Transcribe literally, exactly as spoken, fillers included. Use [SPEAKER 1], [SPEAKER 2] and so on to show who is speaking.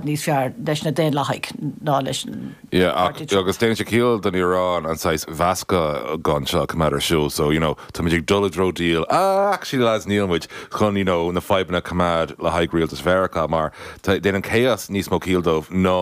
[SPEAKER 1] Níos fearr leis na Daonlathaigh ná leis
[SPEAKER 2] Yeah, agus déanann sé ciall don Iaráin an saghas mheascán seo coimeád ar siúl, so you know, tá muid ag dul i dtreo deal ah, actually lads níl muid chun you know, na fadhbanna coimeád le haghaidh rialtas Mheiriceá mar déanann chaos níos mó ciall dóibh ná